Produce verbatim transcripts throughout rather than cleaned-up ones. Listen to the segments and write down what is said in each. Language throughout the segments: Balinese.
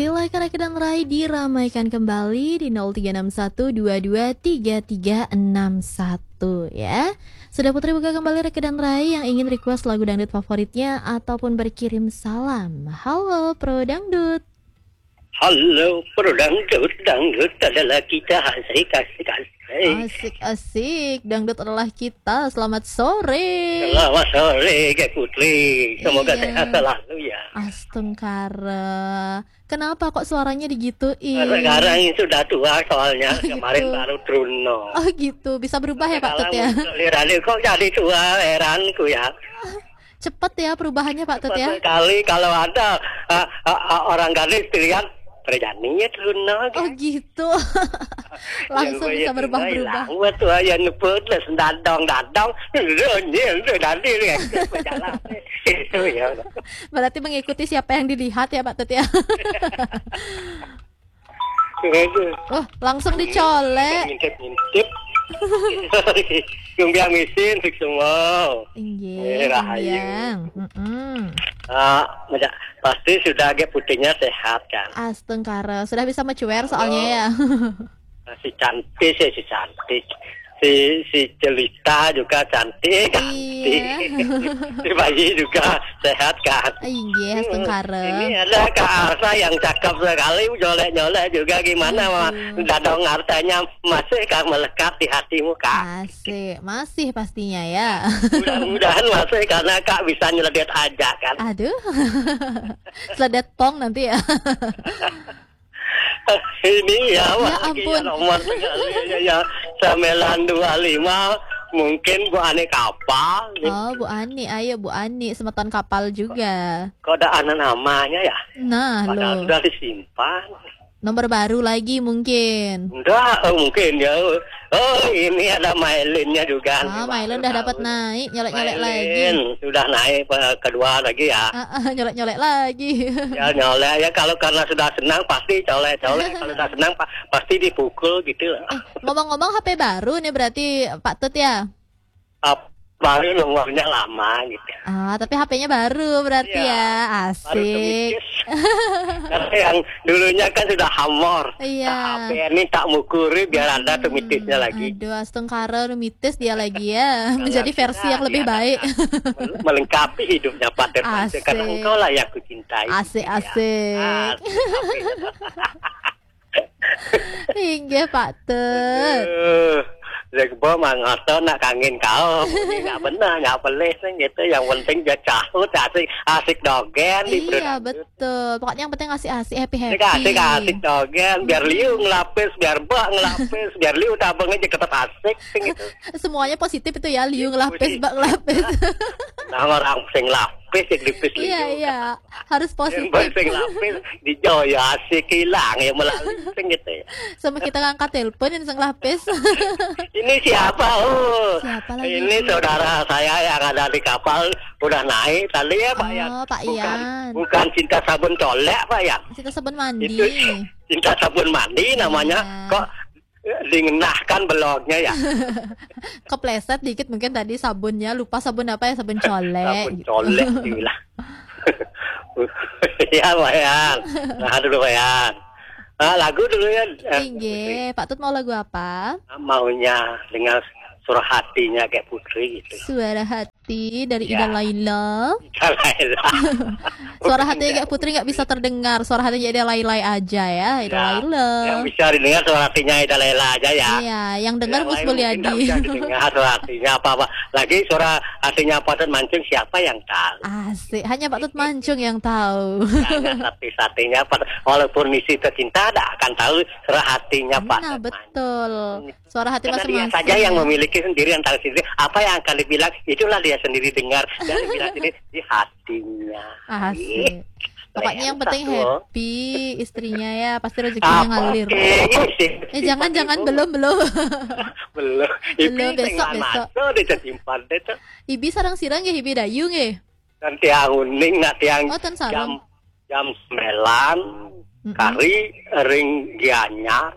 Silahkan Reke dan Rai diramaikan kembali di nol tiga enam satu dua dua tiga tiga enam satu ya. Sudah Putri buka kembali Reke dan Rai yang ingin request lagu dangdut favoritnya ataupun berkirim salam. Halo Pro Dangdut. Halo Pro Dangdut, dangdut adalah kita, asik, asik, asik. Asik-asik, dangdut adalah kita. Selamat sore. Selamat sore Kak Putri. Semoga Iya. Sehat selalu ya. Astungkara. Kenapa kok suaranya digituin? Sekarang ini sudah tua soalnya. Oh, gitu. Kemarin baru Truno. Oh gitu, bisa berubah ya Pak Tut ya? Kalau muncul di radio kok jadi tua, heranku ya. Cepet ya perubahannya Pak Tut Cepat ya? Sekali kalau ada ah, ah, ah, orang gadis pilihan, "Perjani ya Truno." Oh gitu. Langsung bisa berubah-berubah. Buat tuh ya nyebut les dadong dadong. Nyel nyel tadi ya. Itu ya. Berarti mengikuti siapa yang dilihat ya Pak Tut ya? Itu. Oh, langsung dicolek. Ngintip-ngintip. Jumbiang misin fix semua. Inggih, Eh, rahayu. Jumbiang. Mm-mm. Ah, macam pasti sudah agak putihnya sehat kan. Astungkara, sudah bisa mencuer soalnya ya. Si cantik sih, si cantik. Si si Jelita juga cantik, cantik. Iya. Si Bayi juga sehat kan. Inggih, astungkara. Ini ada Kak Arsa yang cakep sekali, nyolek-nyolek juga gimana Mama? Aduh. Dadong Arsanya masih kah melekat di hatimu Kak? Asik, masih pastinya ya. Mudah-mudahan masih karena Kak bisa nyeledet aja kan. Aduh. Seledet pong nanti ya. Ini ya, Ya lagi ampun. Ya, nomor sekali ya, ya. Sembilan dua lima mungkin Bu Ani kapal. Oh, Bu Ani, ayo Bu Ani, semeton kapal juga. Kok ada anak namanya ya? Nah, Padahal lo. Sudah disimpan. Nomor baru lagi mungkin. Enggak, oh, mungkin ya. Oh, ini ada Mailinnya juga. Ah, Nih, Mailin baru udah dapat tahu. naik, nyolek-nyolek lagi. Mailin sudah naik eh, kedua lagi ya. Ah, ah, nyolek-nyolek lagi. Ya nyolek ya, kalau karena sudah senang pasti colek-colek. Kalau sudah senang pa- pasti dipukul gitu. Eh, ngomong-ngomong H P baru nih berarti Pak Tut ya? Ap- Baru nomornya lama gitu. Ah, tapi H P-nya baru berarti Iya, ya. Baru Asik. demikian. Karena yang dulunya kan sudah hamor. Iya. Nah, H P ini tak mukuri biar ada tuh mitisnya lagi. Aduh, astungkara, udah mitis dia lagi ya. Menjadi Kalau versi sudah yang lebih diadakan baik. Melengkapi hidupnya Pak Terpante. Karena Asik. Engkau lah yang kucintai. Asik, Ya. asik. Asik. Inggih, Pak Tut. Aduh, Jack Bo mah ngotot nak kangen kau. Ini nggak benar, nggak boleh sih gitu. Yang penting dia cahut, asik, asik dogen di Iya, betul. Pokoknya yang penting asik-asik, happy-happy. Ini asik, asik dogen. Biar liu ngelapis, biar bak ngelapis, biar liu tabung aja tetap asik sih gitu. Semuanya positif itu ya, liu Iya, ngelapis, positif. Bak ngelapis. Nah, orang sing lapis yang lipis Iya, liu. iya. Harus Yang positif. baik sing lapis di jauh ya asik hilang ya melalui sing gitu ya. Sama kita ngangkat telepon yang sing lapis. Ini siapa? Oh, Siapa lagi ini itu? Saudara saya yang ada di kapal udah naik tadi ya Pak Oh, Yan. Pak Bukan, Yan. Bukan cinta sabun colek Pak Yan. Cinta sabun mandi. Itu cinta sabun mandi namanya. Iya. Kok eh, dingenahkan belognya ya? Kepleset dikit mungkin tadi sabunnya, lupa sabun apa ya, sabun colek. Sabun colek dibilang. Ya Pak Yan. Nah dulu Pak Yan. Ah, lagu dulu ya. Eh, Inggih, Pak Tut mau lagu apa? Maunya dengar suara hatinya kayak Putri gitu. Suara hati dari Ya. Ida Laila. Salah ya. Suara hati kayak Putri nggak bisa terdengar. Suara hatinya Ida Laila aja ya, Ida Ya, Laila. Yang bisa didengar suara hatinya Ida Laila aja ya. Iya, yang dengar Yang Mus lain mungkin nggak Mulyadi. Bisa didengar suara hatinya apa-apa. Lagi suara hatinya Pak Tut Mancung siapa yang tahu? Asik, hanya Pak Tut Mancung yang tahu. Hanya satu-satunya Pak, walaupun misi tercinta tidak akan tahu suara hatinya Pak Nah, Tut Mancung. Betul. Suara hati Karena dia masing-masing. Saja yang memiliki sendiri yang tahu sendiri. Apa yang akan dibilang, itulah dia sendiri dengar. Dan dibilang sendiri di hatinya. Asik. Pokoknya yang penting Satu. Happy istrinya ya, pasti rezekinya Apa? ngalir. Oke, iya sih. Eh, jangan, jangan, belum, belum. Belum. Belum, Ibi besok, tinggal besok. Masuk di tersimpan itu. Ibi sarang sira nggih, Ibi Dayu nggih. Dan tiang uning nak tiang Oh, ten sarang. Jam jam sembilan Mm-mm. kari ring Gianyar.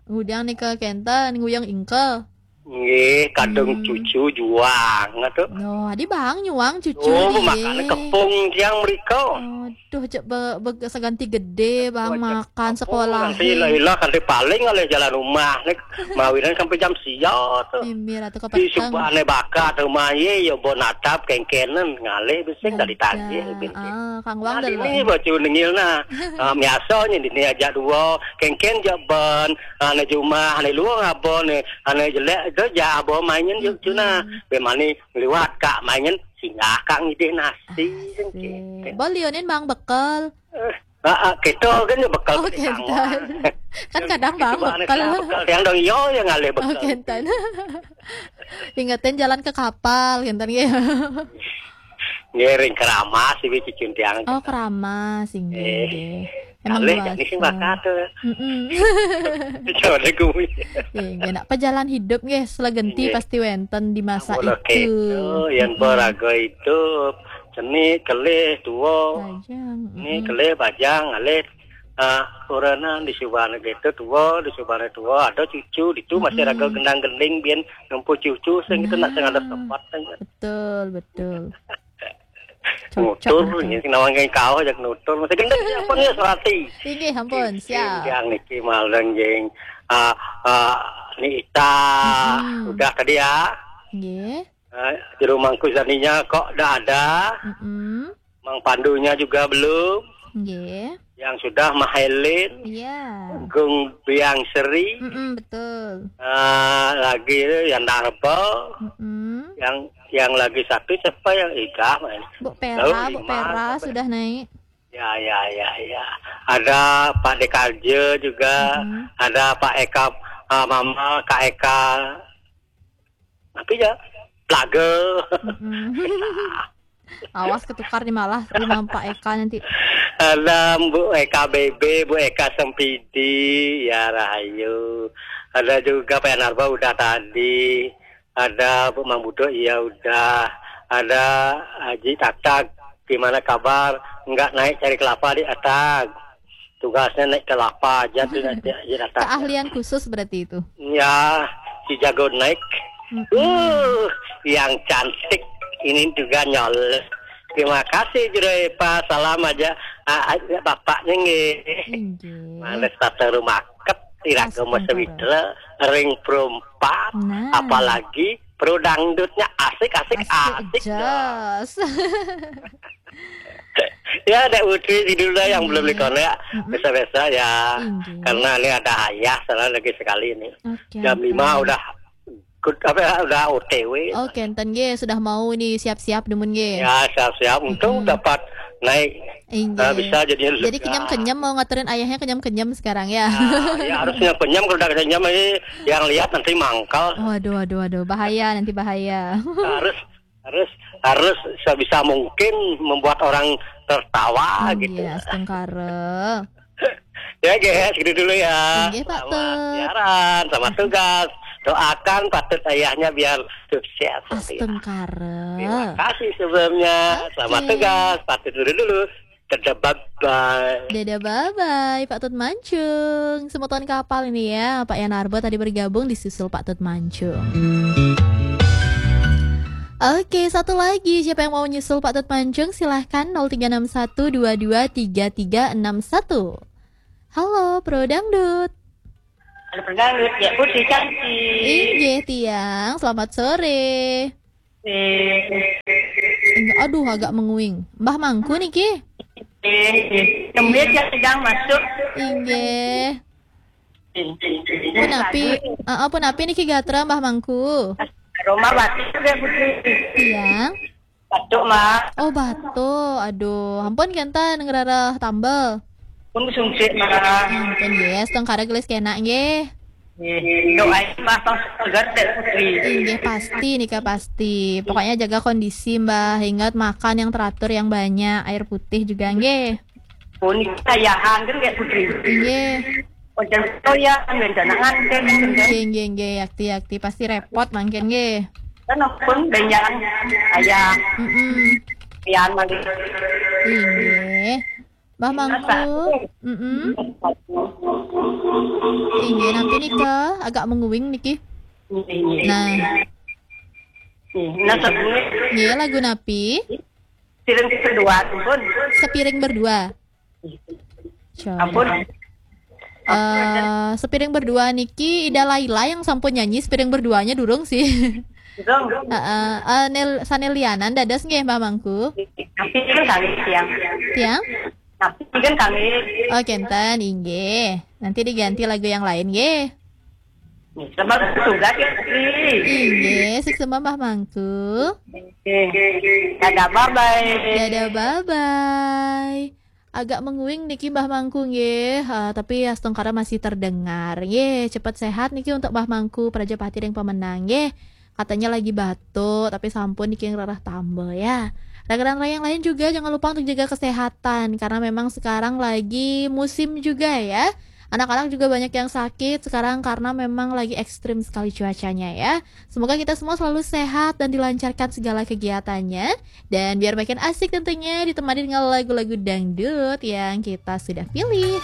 Ngudang nika kenten, nguyang ingkel. Nggih, kadung Hmm. cucu juang tu. Loh, adi bang nyuang cucu Oh, dia. Makan kepung tiang mereka. Aduh, cek be, be, seganti gede bang Oh, cek makan kepung, sekolah. Nanti ilah-ilah, nanti paling oleh jalan rumah ni, mawinan sampai jam sia tu. Mimir atau Di kepeteng. Subane bakat rumah ye, yo bo natap kengkenen ngalih bising dari tadi. Ah, kang wang Nah, dini delok. Baca nengil nah. Ah, biasanya dini ajak dua, kengken jak ban, ane jumah, ane luang apa ni, ane jelek tu jak apa mainin juk tu nah. Mm-mm. Bemani liwat kak mainin singgah kak ngidih nasi. Asik. Boleh onin bang bekal. Eh, ah, ah, kita kan je bekal Oh, kita kentan. Kan yang kadang bang kita anak bekal. Bekal yang dong yo yang ngalih bekal. Oh, kentan. Ingetin jalan ke kapal, kentan ya. Ngiring keramas ibu cucun tiang. Oh, keramas, inggih, Eh, inggih. Emang kalih luas, jadi sing eh. Bakat tu. Mm-mm. Coba gue. Inggih, nak pejalan hidup nggih, selegenti Nggih. Pasti wenten di masa Amun itu. Oke, itu, yang Mm-mm. Beraga hidup, seni, kelih, tua. Bajang, Ni mm-mm. Kelih, bajang, alih. Ah, urana di subana gitu, tua, di subana tua, ada cucu, ditu masih Hmm. Raga gendang-gending, biar nempuh cucu, sing itu nak sing ada sempat, sing. Betul, betul. Cocok, Nutur, betul. Ni nawang kau ajak nutur, masih gendang siapa ni, serati. Inggih, ampun, Nggih, siap. Yang niki malang, jeng. Ah, ah, ni Ita, Mm-mm. Udah tadi ya. Nggih. Ah, juru mangku zaninya kok dah ada. Mm-mm. Mang Pandunya juga belum. Nggih. Yang sudah Mahelin. Iya. Gung Biang Seri. Mm-mm, betul. Ah, lagi yang Darba. Mm-mm. Yang, yang lagi satu siapa yang Idah, main? Bu Pera, Lalu Bu lima, Pera siapa? Sudah naik. Ya, ya, ya, ya. Ada Pak Dekarja juga. Mm-mm. Ada Pak Eka, ah, Mama, Kak Eka. Tapi ya, Plaga. Mm-mm. Awas ketukar nih malah, rumah Pak Eka nanti. Ada Bu Eka B B, Bu Eka Sempidi, ya rahayu. Ada juga Pak Yanarba udah tadi. Ada Bu Mang Buduk, iya udah. Ada Haji Tatag, gimana kabar? Enggak naik cari kelapa di Atag. Tugasnya naik kelapa aja tuh, naik di Atag. Keahlian khusus berarti itu. Ya, si jago naik. Mm-mm. Uh, yang cantik ini juga nyol. Terima kasih, Jero Epa. Salam aja, ah, ah, bapaknya nggih. Inggih. Males tata rumaket, iraga Astagfirullah. Masa witra, ring perempat, Nah. Apalagi pro dangdutnya asik, asik, asik, asik, jos. Ya, Dek Putri, judulnya yang belum dikonek, mm-mm. Biasa-biasa ya. Inggih. Karena ini ada ayah, salah lagi sekali ini. Oke, jam lima oke. Udah good, apa ya, udah O T W. Oke, enten nggih, sudah mau ini siap-siap demen nggih. Ya, siap-siap. Untung mm-mm. Dapat naik. Inggih. Nah, bisa jadi. Jadi kenyam-kenyam mau ngaturin ayahnya kenyam-kenyam sekarang ya. Nah, ya harus kenyam-kenyam, kalau udah kenyam ini yang lihat nanti mangkal. Waduh, waduh, waduh, bahaya nanti bahaya. Harus harus harus sebisa mungkin membuat orang tertawa gitu. Iya, astungkara. Ya, guys, gitu dulu ya. Inggih, Pak Tut. Selamat siaran, selamat tugas. Doakan Pak Tut ayahnya biar sukses. Astungkara. Terima kasih sebelumnya. Oke. Selamat tugas, Pak Tut dulu dulu. Dadah, bye-bye. Dadah, bye-bye, Pak Tut Mancung. Semeton kapal ini ya, Pak Yanarba tadi bergabung, disusul Pak Tut Mancung. Oke, satu lagi. Siapa yang mau nyusul Pak Tut Mancung? Silahkan nol tiga enam satu dua dua tiga tiga enam satu. Halo, Pro Dangdut. Halo, Pro Dangdut. Ya, Putri cantik. Inggih, Tiang. Selamat sore. Eh. Inggih, aduh, agak menguing. Mbah Mangku niki? Eh, eh. Tembus yang sedang masuk. Inggih. Eh, eh, eh. Punapi, heeh, punapi niki gatra Mbah Mangku? Roma batuk ya, Putri. Tiang? Batuk, Mak. Oh, batuk. Aduh, ampun kenten ngrereh tambel. Pun sungsik, Mak. Ampun, yes, tengkara gelis kena nggih. Nggih. Doain Mbah Bang seger deh, Putri. Inggih, pasti nika pasti. Pokoknya jaga kondisi, Mbah. Ingat makan yang teratur, yang banyak, air putih juga nggih. Pun ayahan kan kayak Putri. Inggih. Ojan toya, rencana nganten, Nggih, nggih, nggih, yakti, yakti. Pasti repot mangkin nggih. Kan pun banyak ayah. Mm-mm. Pian mangkin. Inggih. Mbah Mangku. Mm-mm. Inggih, nanti nika agak menguing niki. Nggih, nggih. Nah, Nggih. Nah, sebelumnya nggih, lagu napi? Piring berdua tuh pun. Sepiring berdua. Coba. Ampun. Eh, sepiring berdua niki Ida Laila yang sampun nyanyi sepiring berduanya durung sih. Dong. Heeh. Eh, Nel, sanelianan dados nggih Mbah Mangku. Tapi kan kami siang. Tiang? Tapi kan kami Oh, kenten inggih. Nanti diganti lagu yang lain nggih. Sama tugas ya, Tri. Inggih, suksma Mbah Mangku. Oke. Dadah, bye-bye. Dadah, bye-bye. Agak menguing niki Mbah Mangku nggih, eh, tapi astungkara masih terdengar. Nggih, cepat sehat niki untuk Mbah Mangku Prajapati ring pemenang nggih. Katanya lagi batuk, tapi sampun niki ngrereh tambel ya. Rekan-rekan yang lain juga jangan lupa untuk jaga kesehatan karena memang sekarang lagi musim juga ya. Anak-anak juga banyak yang sakit sekarang karena memang lagi ekstrim sekali cuacanya ya. Semoga kita semua selalu sehat dan dilancarkan segala kegiatannya. Dan biar makin asik tentunya ditemani dengan lagu-lagu dangdut yang kita sudah pilih.